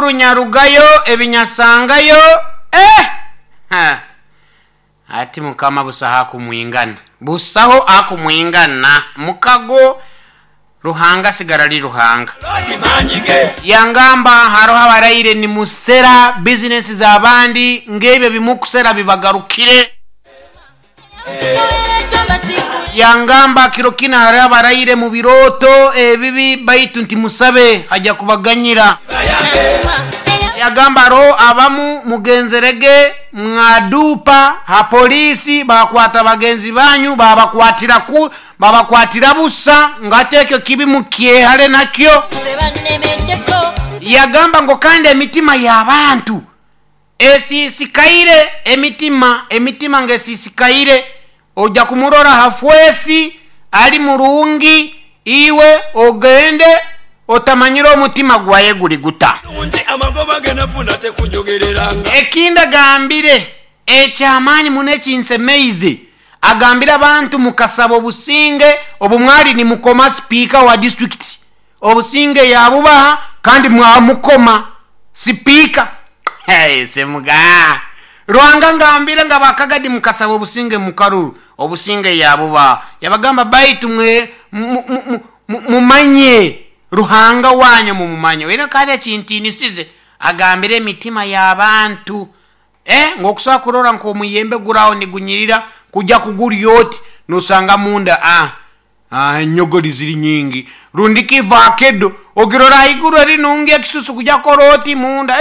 Amakuru nyarugayo ebinyasangayo eh! Ha. Ati Mukama busaho akumwingana, busaho akumwingana. Mukago Ruhanga asigara ali Ruhanga. Yangamba haroho abaraire nimusera bizinesi z'abandi ng'ebyo ebimukusera bibagarukire. Yangamba kiro kinu hariho abaraire mu birooto ebibi baitu ntimusabe aja kubaganyira. Yagamba haroho abamu mugenzerege mwaduupa ha poliisi baakwata bagenzi banyu baabakwatira ku babakwatira busa ngate ekyo kibi mukyehale nakyo. Yagamba ngu kandi emitima y'abantu Esiisikaire emitima, emitima ng'esiisikaire. Oja kumurora ha fwesi ali murungi, iwe ogende otamanyire omutima gwaye guli guta. Ekindi agambire eky'amaani muno ekinsemeize, agambire abantu mukasaba obusinge obu mwali nimukoma sipiika wa disiturikiti. Obusinge yabubaha kandi mwamukoma sipiika. Semuga Ruhanga ngambire nga bakagadi mukasaba obusinge mukaruru obusinge yabubaha. Yabagamba baitu mwe mumanye Ruhanga wanyu mumumanye. Oine kandi ekintinisize agambire emitima yabantu ngu okusobora kurora nk'omuyembe guraho nigunyirira kugya kugurya oti nosanga munda ah. Enyogori ziri nyingi rundi ki vakedo ogirora haiguru eri nungi ekisusu kugya kukora oti munda.